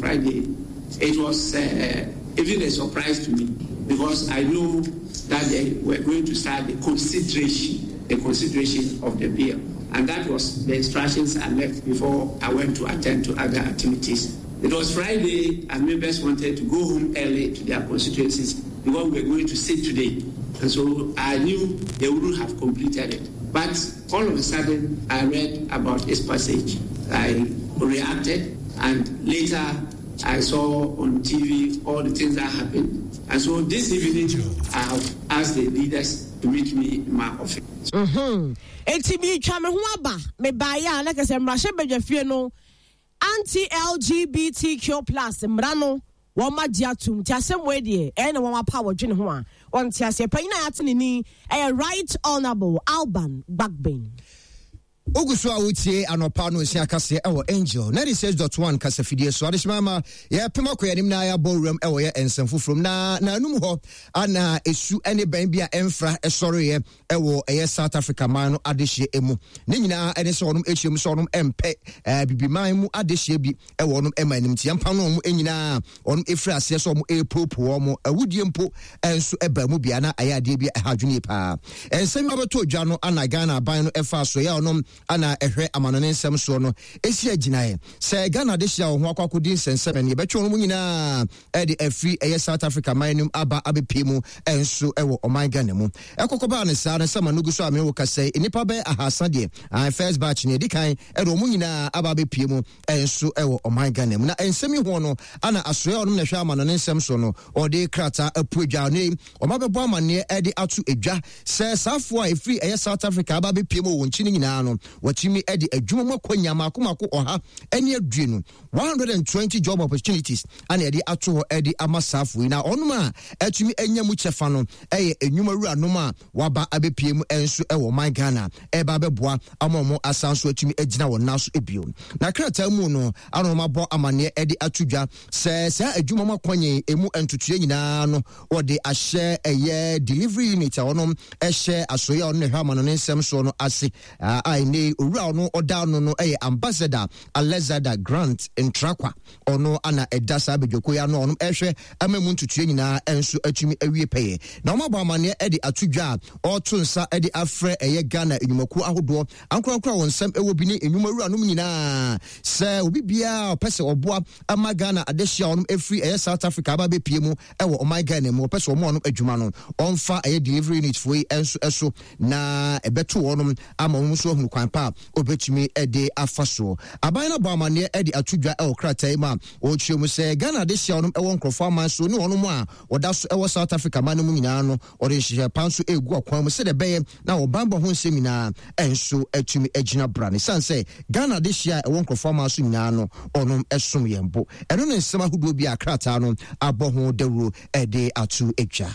Friday, it was uh, even a surprise to me because I know that they were going to start the consideration, the consideration of the bill. And that was the instructions I left before I went to attend to other activities. It was Friday, and members wanted to go home early to their constituencies because we were going to sit today. And so I knew they wouldn't have completed it. But all of a sudden, I read about its passage. I reacted, and later I saw on TV all the things that happened. And so this evening, I have asked the leaders to meet me in my office. Mm-hmm. Enti meretwa me ho aba mebaeɛ a na kɛsɛ mmarahyɛ badwafie no anti-LGBTQ plus mmara no wɔn agye atum nti asɛm wei deɛ ɛyɛ na wɔn apa wɔdwene ho a wɔnte aseɛ panyin a yɛate ne ni ɛyɛ Right Honourable Alban Bagbin. Wogu so a wotie anɔpa no nsia kaseɛ ɛwɔ Angel 96.1 kasafidie so. Adehyema ma yɛpem akɔ yɛn anim na yɛabɔ wuram ɛwɔ yɛ nsɛm foforɔ mu na n'anum hɔ ana esu ne bɛn bi a ɛmfra ɛsɔreeɛ ɛwɔ ɛyɛ South Africa man no adehyeɛ emu. Ne nyinaa ɛne sɛ wɔnom ahyia mu sɛ wɔnom ɛmpɛ ɛɛ bibiman mu adehyeɛ bi ɛwɔ wɔnom ɛma anim nti yɛmpa no wɔn nyinaa wɔnom ɛfiri aseɛ sɛ wɔn ɛrepopo wɔn awudie mpo ɛnso ɛba mu bia na ɛyɛ adeɛ bi ɛha adwene yie paa. Nsɛm yi abɛtɔ dwa no ana Ghana aban no ɛfa so ɛyɛ wɔnom ana ɛhwɛ amanɔne nsɛm soɔ no ɛsi agyinaeɛ sɛ Ghana adehyeɛ a wɔn ho akɔ akɔdi nsɛnsɛm ɛno yɛbɛtwe wɔn nyinaa ɛde afiri ɛyɛ South Africa man no mu aba abɛpie mu ɛnso ɛwɔ ɔman Ghana mu. Ɛkɔkɔ baa no saa no sɛ ma no gu so a me wo kasa yi nnipa bɛyɛ ahasa deɛ an first batch no ɛdi kan ɛde wɔn nyinaa aba abɛpie mu ɛnso ɛwɔ ɔman Ghana mu. Na nsɛm yi ho no ana asoɛ ɔnom na ɛhwɛ ama no ne nsɛm so no ɔde krataa apu adwa no yi wɔn abɛbɔ amanneɛ ɛde ato adwa sɛ saafoɔ a ɛfiri ɛyɛ South Africa aba abɛpie mu wɔ wɔn nkyi no nyinaa no wɔatumi ɛde adwuma mu akɔnya mako mako ɔha ɛne aduonu 120 job opportunities ana yɛde ato hɔ ɛde ama saafo yi na ɔnom a ɛtumi anya mu kyɛfa no ɛyɛ enwuma wuranom a waba abɛpie mu ɛnso ɛwɔ ɔman Ghana ɛba abɛboa ama wɔn asan so atumi agyina wɔn nan so ebio na krataa mu no ana wɔn abɔ amaneɛ ɛde ato dwa sɛ saa adwuma mu akɔnye emu ntotoeɛ nyinaa no wɔde ahyɛ ɛyɛ delivery unit a wɔnom ɛhyɛ asoeɛ a ɔno na ɛhwɛ ama no ne nsɛm soɔ no ase a ɛnɛ owura ɔno ɔda ano no ɛyɛ ambassador Alexander Grant Ntrakwa, ɔno ana ɛda saa badwako yi ano a ɔnom ɛhwɛ ama mu ntotoeɛ nyinaa nso atumi awie pɛyɛ. Na wɔn abɔ amanneɛ de ato dwa a ɔreto nsa de afrɛ ɛyɛ Ghana nnwumakuo ahodoɔ ankorankoro a wɔn nsɛm ɛwɔ bi ne nnwuma wuranom nyinaa sɛ obi biara ɔpɛ sɛ ɔboa ama Ghana adehye a wɔnom ɛfiri ɛyɛ South Africa aba abɛpie mu ɛwɔ ɔman Ghana mu ɔpɛ sɛ wɔn ɔnom adwuma no ɔmfa ɛyɛ delivery unit foɔ yi nso ɛso na ɛbɛto wɔnom ama wɔn nso ahunu kwan pa a wɔbɛtumi de afa soɔ. Aban no abɔ amanneɛ de ato dwa wɔ krataa yi mu a wɔkyerɛ mu sɛ Ghana adehyeɛ a wɔnom wɔ nkurɔfoɔ aman so ne wɔnom a wɔda so wɔ South Africa man no mu nyinaa no wɔde nhyehyɛɛ pa nso regu akwan mu sɛdeɛ ɛbɛyɛ na wɔn banbɔ ho nsɛm nyinaa nso atumi agyina bra no. Ɛsiane sɛ Ghana adehyeɛ a ɛwɔ nkurɔfoɔ aman so nyinaa no wɔnom som yɛn bo. Ɛno ne nsɛm ahodoɔ bi a krataa no abɔ ho dawuro de ato dwa.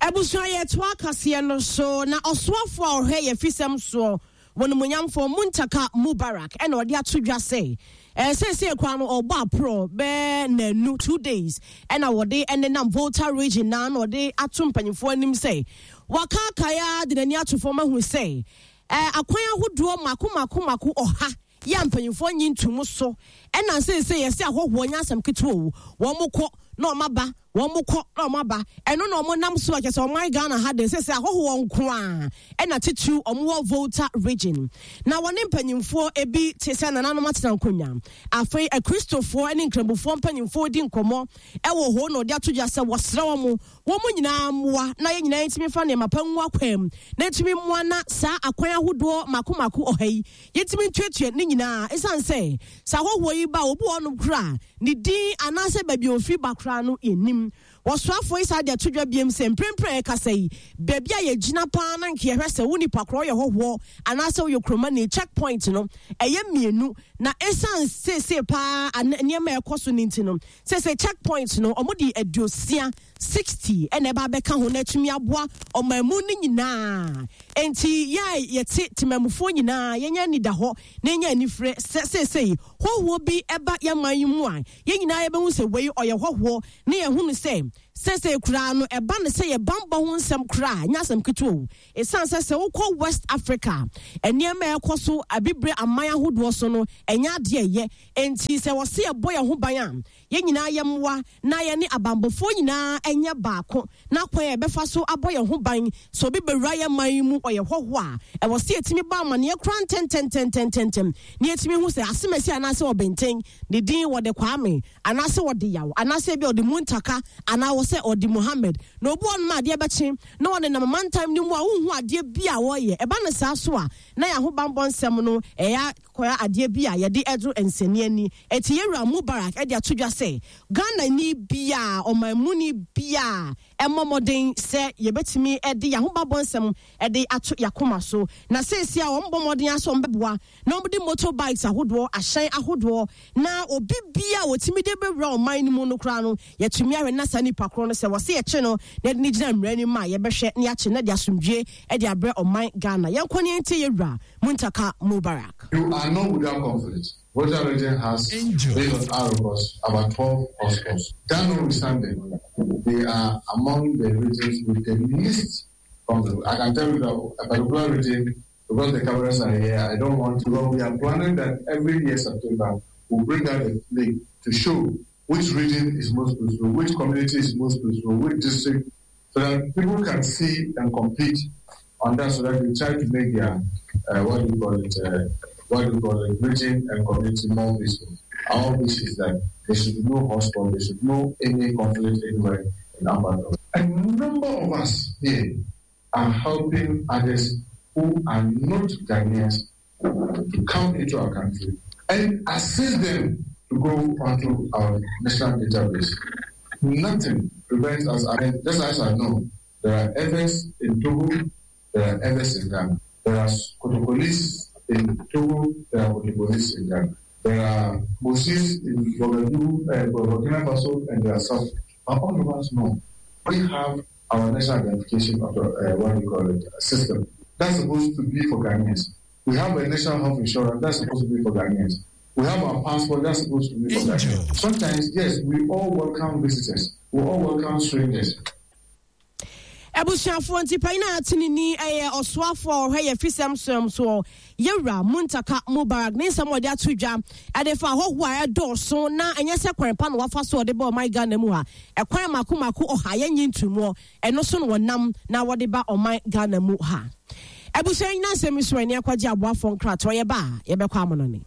Abusua yɛtoa kaseɛ no so na ɔsoafoɔ a ɔhwɛ yɛ fisɛm soɔ wɔ nomonyamfoɔ Muntaka Mubarak ɛna ɔde ato dwa sɛ ɛɛ seesei koraa no ɔbɔ aporɔ bɛɛ nanu 2 days ɛna wɔde ɛnenam Volta Region na na ɔde ato mpanyinfoɔ anim sɛ wakaakae a de n'ani ato fam ahu sɛ ɛɛ akwan ahodoɔ mako mako mako 100 yɛ a mpanyinfoɔ nyi ntomu so ɛna seesei yɛsɛ ahɔhoɔ nyɛ asɛm ketewa o wɔn kɔ na wɔn aba wɔn kɔ na wɔn aba ɛno na wɔn nam so a kyerɛ sɛ ɔman Ghana ha de sɛ ahɔhoɔ nko a ɛna titiriw wɔn wɔ Volta Region na wɔne mpanyinfoɔ ebi te sɛ nananom atena nkonnwa afei akristofoɔ ne nkramofoɔ mpanyinfoɔ di nkɔmɔ ɛwɔ hɔ na ɔde ato dwa sɛ wɔsrɛ wɔn wɔn nyinaa mmoa na yɛn nyinaa ntumi fa nneɛma pa ngu akwan mu na ntumi mmoa na saa akwan ahodoɔ mako mako 100 yi yɛntumi ntuatua ne nyinaa ɛsiane sɛ sɛ ahɔhoɔ yi ba obi wɔ hɔnom koraa ne din anaasɛ baabi a ofiri ba koraa no yɛnim wɔsoafoɔ yi saa de ato dwa biem sɛ mprempren a yɛkasa yi baabi a yɛgyina paa na nka yɛhwɛ sɛ wo nipa korɔ yɛ hɔhoɔ anaasɛ woyɛ kuromani check point no ɛyɛ mmienu na ɛsiane seesei paa nneɛma a ɛkɔ so no nti no seesei check point no ɔmo de 60 60 ɛna ɛba abɛka ho na atumi aboa ɔman mu no nyinaa nti yɛ a yɛte temamufoɔ nyinaa yɛnyɛ ani da hɔ na yɛnyɛ anifere sɛ seesei hɔhoɔ bi ɛba yɛn man yi mu a yɛn nyinaa yɛbɛhu sɛ wei ɔyɛ hɔhoɔ ne yɛhu no sɛ Seesei koraa no, ɛba no sɛ yɛ bammɔ ho nsɛm koraa a, ɛnyɛ asɛm ketewa o. Esiane sɛ sɛ wokɔ West Africa a, nneɛma a ɛkɔ so Abibire aman ahodoɔ so no, ɛnyɛ adeɛ a ɛyɛ. Enti sɛ wɔse yɛbɔ yɛn ho ban a, yɛn nyinaa yɛmmoa na yɛne abanbɔfoɔ nyinaa nyɛ baako na kwan a yɛbɛfa so abɔ yɛn ho ban sɛ obi bɛwura yɛn man yi mu ɔyɛ hɔhoɔ a, ɛwɔ sɛ yɛtumi bɔ amaneɛ koraa ntɛntɛntɛntɛntɛm na yɛtumi hu sɛ asemasi anaasɛ ɔbɛnten, ne din wɔde Kwame anaasɛ ɔde Yaw anaasɛ ebia ɔde Muntaka anaa wɔ sɛ ɔde Muhammad. Na obi wɔ hɔnom a adeɛ bɛkye na ɔnenam mantam no mu a wonhu adeɛ bi a ɔreyɛ. Ɛba no saa so a, na yɛn ahobammɔ nsɛm no ɛyɛ akɔyɛ adeɛ bi a yɛde ɛdoro nsɛnni ani. Enti yɛn wura Mubarak de ato dwa sɛ Ghanani biara, ɔmanmuni biara mmɔ mmɔden sɛ yɛbɛtumi de yɛn ahobammɔ nsɛm de ato yɛn akoma so. Na seesei a wɔbɔ mmɔden ara sɛ wɔbɛboa na wɔde motor bikes ahodoɔ, ahyɛn ahodoɔ, na obi biara a wɔtumi de bɛwura ɔman no mu no koraa no, yɛtumi ahwɛ na saa nipa korɔ no sɛ wɔse yɛkye no na yɛde no gyina mmara anim a, yɛbɛhwɛ na yɛakye no de asomdwie de abrɛ ɔman Ghana. Yɛnkɔ na yɛntie yɛn wura Muntaka Mubarak. You are not without conflict. Volta region has, based on our records, about 12 hotspots. That notwithstanding, they are among the regions with the least conflict. I can tell you that a particular region, because the cameras are here, I don't want to, but we are planning that every year September, we'll bring out a link to show which region is most peaceful, which community is most peaceful, which district, so that people can see and compete on that, so that we try to make their, what do you call it, what do you call it, region and community more peaceful. Our wish is that there should be no hotspot, there should be no any conflict anywhere in Ambado. A number of us here are helping others who are not Ghanaians to come into our country and assist them to go onto our national database. Nothing prevents us. I mean, just as I know, there are Ewes in Togo, there are Ewes in Ghana. There are Kotokolis in Togo, there are Kotokolis in Ghana. There are Mossis in Ouagadougou, Burkina Faso, and there are South. But all of us know we have our national identification of what we call it, system. That's supposed to be for Ghanaians. We have a national health insurance that's supposed to be for Ghanaians. We have our passport that's supposed to be for Ghanaians. Sometimes, yes, we all welcome visitors. We all welcome strangers. Abusuafoɔ nti panyin a ate ne ni yɛ ɔsoafoɔ a ɔhwɛ yɛ fisɛm soɛm soɔ Yɛwura Muntaka Mubarak ne nsɛm a ɔde ato dwa ɛde fa ahɔhoɔ a ɛdɔɔso na ɛnyɛ sɛ kwan pa na wafa so ɔde ba ɔman Ghana mu ha ɛkwan mako mako ɔha yɛnye ntomuɔ ɛno so na wɔnam na wɔde ba ɔman Ghana mu ha. Abusua nyina nsɛm yi so ɛne akɔgye aboafoɔ nkratoɔ yɛba a yɛbɛkɔ amonɔne.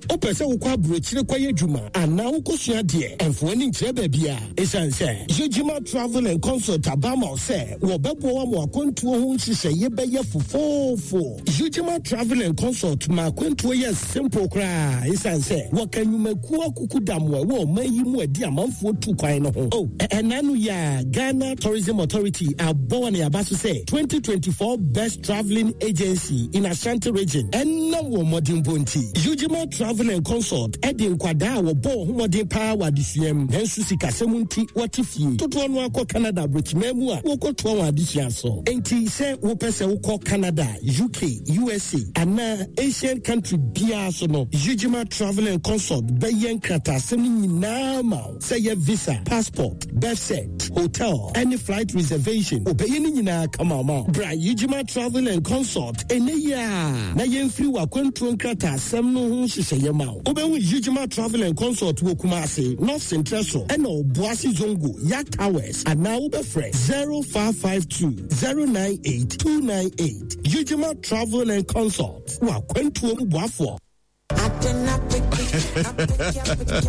Wopɛ sɛ wokɔ aburokyire kɔyɛ adwuma anaa wokɔsua adeɛ? Ɛmfa w'ani nkyerɛ baabiara. Esiane sɛ Yejima Travel and Consult aba ama wo sɛ wɔbɛboa wo ama w'akwantuo ho nhyehyɛeɛ bɛyɛ fofoofo. Yejima Travel and Consult ma akwantuo yɛ simple koraa esiane sɛ wɔka nnwumakuo akukudam a ɛwɔ ɔman yi mu a ɛde amanfoɔ tu kwan no ho. Oh, ɛnna ano yi ara Ghana Tourism Authority abɔ wɔn aba so sɛ 2024 Best Travelling Agency in Ashanti Region ɛnam wɔn mmɔdenbɔ nti. Ujima Travel and Consult de nkwadaa a wɔbɔ wɔn ho mmɔden paa wɔ adesua mu nanso sikasɛm nti wɔte fie dodoɔ no akɔ Canada aburokyiman mu a wɔkɔtoa wɔn adesua so. Enti sɛ wopɛ sɛ wokɔ Canada, UK, USA anaa Asian country biara so no, Ujima Travel and Consult bɛyɛ nkrataasɛm no nyinaa ma wo. Sɛ yɛ visa, passport, birth cert, hotel, ɛne flight reservation, wɔbɛyɛ ne nyinaa kama ama wo. Bra Yijima Travel and Consult ɛnnɛ yi ara na yɛmfiri w'akwantuo nkrataasɛm no ho nhyehyɛeɛ ma wo. Wobɛhu Yijima Travel and Consult wɔ Kumasi, North Sentrɛso, ɛna Obuasi Zongo, Yak Towers, anaa wobɛfrɛ 0552 098 298. Yijima Travel and Consult, w'akwantuo mu boafoɔ.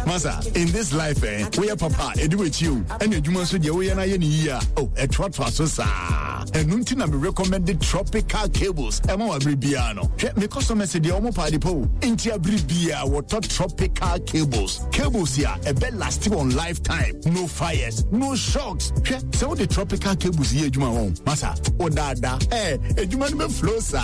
Masa, in this life, eh, we are papa, edu with you, and you must be we are in here. Oh, a trot so sa. And nuntin I recommended tropical cables. Emo abribiano. Me customer said the omo party po. Inti abribia, what tropical cables. Cables here, a bed lasting on lifetime. No fires, no shocks. So the tropical cables here, Juma, masa, oh, da, da, eh, a Juma flow, sir.